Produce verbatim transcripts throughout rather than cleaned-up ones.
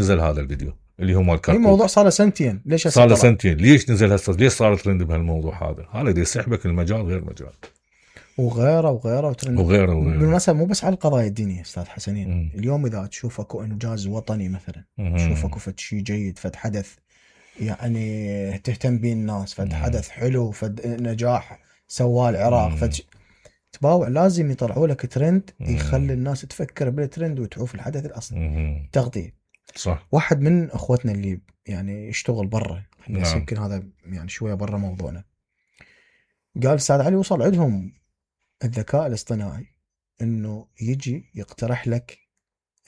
نزل هذا الفيديو اللي هو مال كركوك. الموضوع صار له سنتين، ليش صار له سنتين؟ ليش نزل هسه؟ ليش صار ترند بهالموضوع هذا؟ هذا دي يسحبك المجال غير مجال وغيره وغيره وترند وغيره وغيره. بالمناسبة مو بس على القضايا الدينية استاذ حسنين. مم. اليوم اذا تشوف اكو انجاز وطني مثلا، تشوف اكو فد شيء جيد، فد حدث يعني تهتم به الناس، فد حدث حلو، فد نجاح سواه العراق، فد تباوع لازم يطلعوا لك ترند يخلي الناس تفكر بالترند وتعوف الحدث الاصلي. تغطية. صح. واحد من اخوتنا اللي يعني يشتغل برا، بس نعم. يمكن هذا يعني شويه برا موضوعنا، قال استاذ علي وصل عندهم الذكاء الاصطناعي انه يجي يقترح لك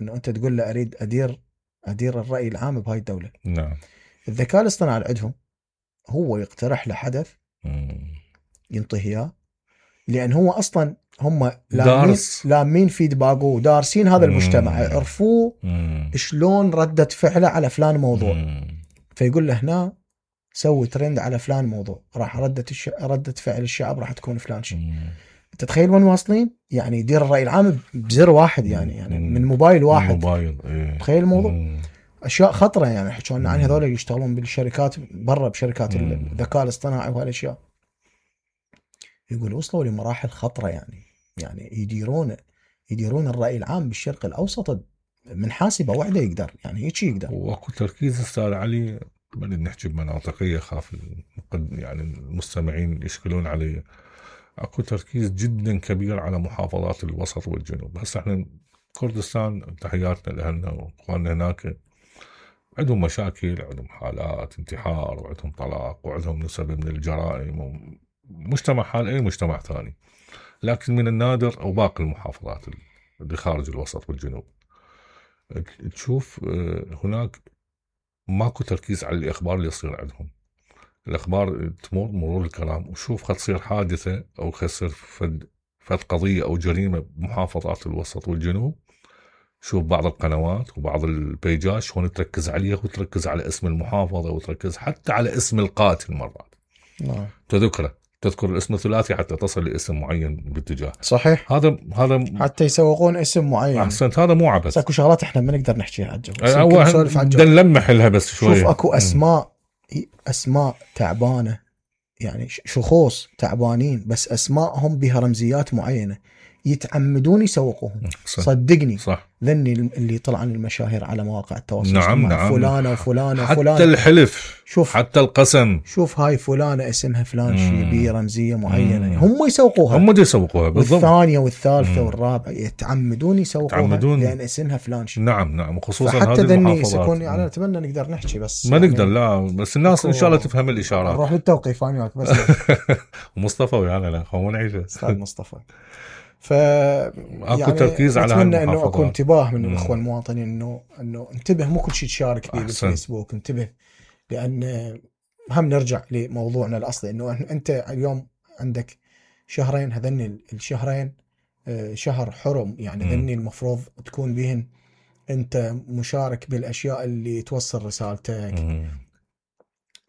انه انت تقول له اريد ادير ادير الراي العام بهاي الدوله. نعم. الذكاء الاصطناعي عندهم هو يقترح له حدث ينطيه اياه، لان هو اصلا هم لامين لامين فيدباك ودارسين هذا المجتمع، يعرفوه شلون ردة فعله على فلان موضوع. مم. فيقول له هنا سوي ترند على فلان موضوع، راح ردة الش... ردة فعل الشعب راح تكون فلان شيء. تتخيل وين واصلين؟ يعني يدير الرأي العام بزر واحد، يعني يعني من موبايل واحد. من موبايل. إيه. تخيل الموضوع. مم. اشياء خطره يعني حكينا عن هذول اللي يشتغلون بالشركات برا بشركات الذكاء الاصطناعي وهالاشياء. يقول وصلوا لمراحل خطره، يعني يعني يديرون يديرون الرأي العام بالشرق الأوسط من حاسبة واحدة يقدر، يعني هيك يقدر. واكو تركيز استاذ علي، ما نحكي بمناطقية خاف يعني المستمعين يشكلون علي. اكو تركيز جدا كبير على محافظات الوسط والجنوب. هسه احنا كردستان تحياتنا لأهلنا واخواننا هناك، عندهم مشاكل، عندهم حالات انتحار، وعندهم طلاق، وعندهم نسب من الجرائم، مجتمع حال اي مجتمع ثاني. لكن من النادر او باقي المحافظات اللي خارج الوسط والجنوب تشوف هناك ماكو تركيز على الاخبار اللي يصير عندهم. الاخبار تمر مرور الكرام، وشوف خد تصير حادثه او خسر فد فد قضيه او جريمه بمحافظات الوسط والجنوب، شوف بعض القنوات وبعض البيجات شلون تركز عليها، وتركز على اسم المحافظه، وتركز حتى على اسم القاتل مرات. نعم. تذكره تذكر الاسم الثلاثي حتى تصل لاسم معين باتجاه. صحيح. هذا هذا حتى يسوقون اسم معين. احسنت. هذا مو عبث. اكو شغلات احنا ما نقدر نحكيها عجب. بدنا نلمح لها بس شوي. شوف اكو اسماء اسماء تعبانه، يعني شخوص تعبانين بس اسمائهم بها رمزيات معينه، يتعمدون يسوقوهم. صح. صدقني. صح. ذني اللي طلع عن المشاهير على مواقع التواصل نعم نعم. فلانه وفلانه حتى وفلانه، الحلف، شوف حتى القسم، شوف هاي فلانه اسمها فلان شيء بي رمزيه معينه. مم. هم يسوقوها هم دي يسوقوها بالضبط. والثانيه والثالثه والرابعه يتعمدون يسوقوها يتعمدون. لان اسمها فلان شيء. نعم نعم. وخصوصا هذه المحافظات. يكون يعني اتمنى نقدر نحكي بس ما يعني نقدر. لا بس الناس ان شاء الله تفهم الاشارات. نروح للتوقيف انا بس. ومصطفى ويانا لا خو نعيشه استاذ مصطفى. ف اكو يعني تركيز على اتمنى انه اكو انتباه من الاخوه المواطنين، انه انه انتبه، مو كل شيء تشارك فيه بالفيسبوك، انتبه. لان هم نرجع لموضوعنا الاصلي، انه انت اليوم عندك شهرين، هذني الشهرين شهر حرم، يعني هذني المفروض تكون بهن انت مشارك بالاشياء اللي توصل رسالتك، مم.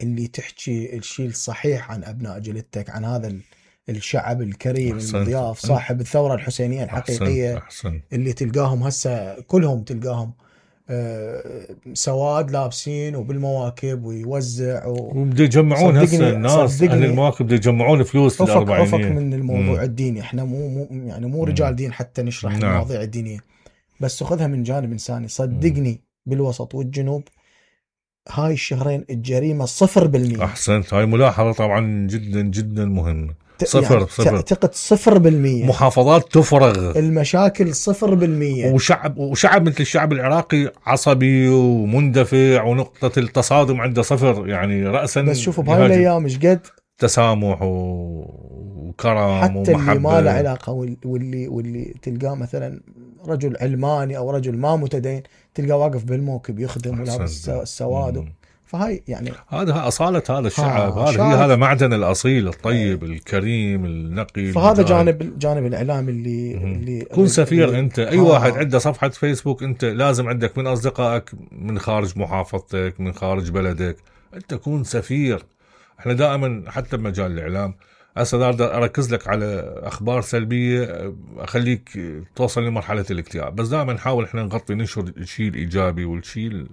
اللي تحكي الشيء الصحيح عن ابناء جلدتك، عن هذا الشعب الكريم المضياف صاحب الثورة الحسينية الحقيقية. أحسن. أحسن. اللي تلقاهم هسه كلهم تلقاهم سواد لابسين وبالمواكب ويوزع و... وبدي يجمعون هسه الناس أهل المواكب بدي يجمعون فلوس للأربعينية. أفق من الموضوع مم. الديني، احنا مو, مو يعني مو رجال دين حتى نشرح نعم. المواضيع الدينية، بس خذها من جانب إنساني. صدقني مم. بالوسط والجنوب هاي الشهرين الجريمة صفر بالمية. أحسنت. هاي ملاحظة طبعا جدا جدا مهمة. صفر يعني صفر. تعتقد صفر بالمية. محافظات تفرغ. المشاكل صفر بالمية. وشعب وشعب مثل الشعب العراقي عصبي ومندفع، ونقطة التصادم عنده صفر، يعني رأسا. بس شوفوا بهاي الأيام إيش قد تسامح وكرم حتى ومحبة. اللي ما له علاقة، واللي واللي تلقاه مثلا رجل علماني أو رجل ما متدين، تلقاه واقف بالموكب يخدم ولابس السواد. فهاي يعني هذا أصالة هذا الشعب. هذا هي هذا معدن الأصيل الطيب ايه. الكريم النقي. فهذا جانب الجانب الإعلامي اللي اللي كن سفير اللي أنت. أي آه. واحد عنده صفحة فيسبوك أنت لازم عندك من أصدقائك من خارج محافظتك من خارج بلدك، أنت كون سفير. احنا دائما حتى بمجال الإعلام هسه بدي اركز لك على اخبار سلبيه اخليك توصل لمرحله الاكتئاب. بس دائما نحاول احنا نغطي ننشر الشيء الايجابي والشيء